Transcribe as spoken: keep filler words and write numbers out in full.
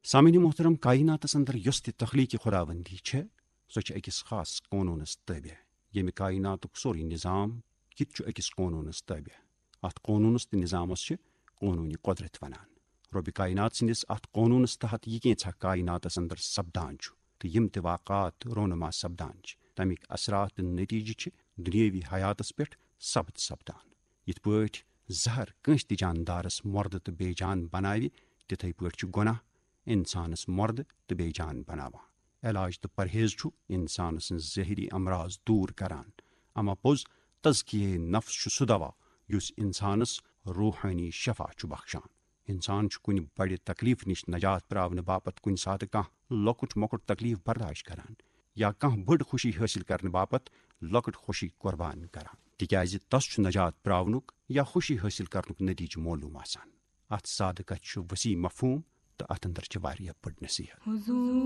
سامعین محترم، کائناتس اندر یۄس تہِ تخلیقی خداوندی چھےٚ، سۄ چھِ أکِس خاص قونوٗنس تابع، ییٚمہِ کائناتُک سورُے نظام، یہِ تہِ چھُ أکِس قونوٗنس تابع۔ اتھ قونوٗنس تہٕ نظامس چھِ قونوٗنِ قدرت ونان۔ رۄبِ کائنات سٕنٛدِس اتھ قونوٗنس تحت یہِ کینٛژھا کائناتس اندر سپدان چھُ تہٕ یِم تہِ واقعات رونما سپدان چھِ، تمیِکۍ اثرات تہٕ نتیجہٕ چھِ دُنیٲوی حیاتس پٮ۪ٹھ ثبت سپدان۔ یِتھ پٲٹھۍ زہر کٲنٛسہِ تہِ جاندارس مردٕ تہٕ بے جان بناوِ، تِتھے پٲٹھۍ چھُ گۄناہ انسانس مردٕ تہٕ بے جان بناوان۔ علاج تہٕ پرہیز چھُ انسان سٕنٛز ظٲہری امراض دوٗر کران۔ اما پوٚز، تزکیہ نفس چھُ سُہ دوا یُس انسانس روحٲنی شفا چھُ بخشان۔ انسان چھُ کُنہِ بڑِ تکلیف نِش نجات پراونہٕ باپتھ کُنہِ ساتہٕ کانٛہہ لۄکُٹ مۄکُٹ تکلیف برداشت کران یا کانٛہہ بٔڑ خوشی حٲصِل کرنہٕ باپتھ لۄکٕٹ خوشی قربان کران، تِکیازِ تس چھُ نجات پراونُک یا خوشی حٲصِل کرنُک نتیجہٕ معلوم آسان۔ اتھ سادٕ کتھِ چھُ وسیع مفہوم تہٕ اتھ اندر چھِ واریاہ بٔڑ نصیحت۔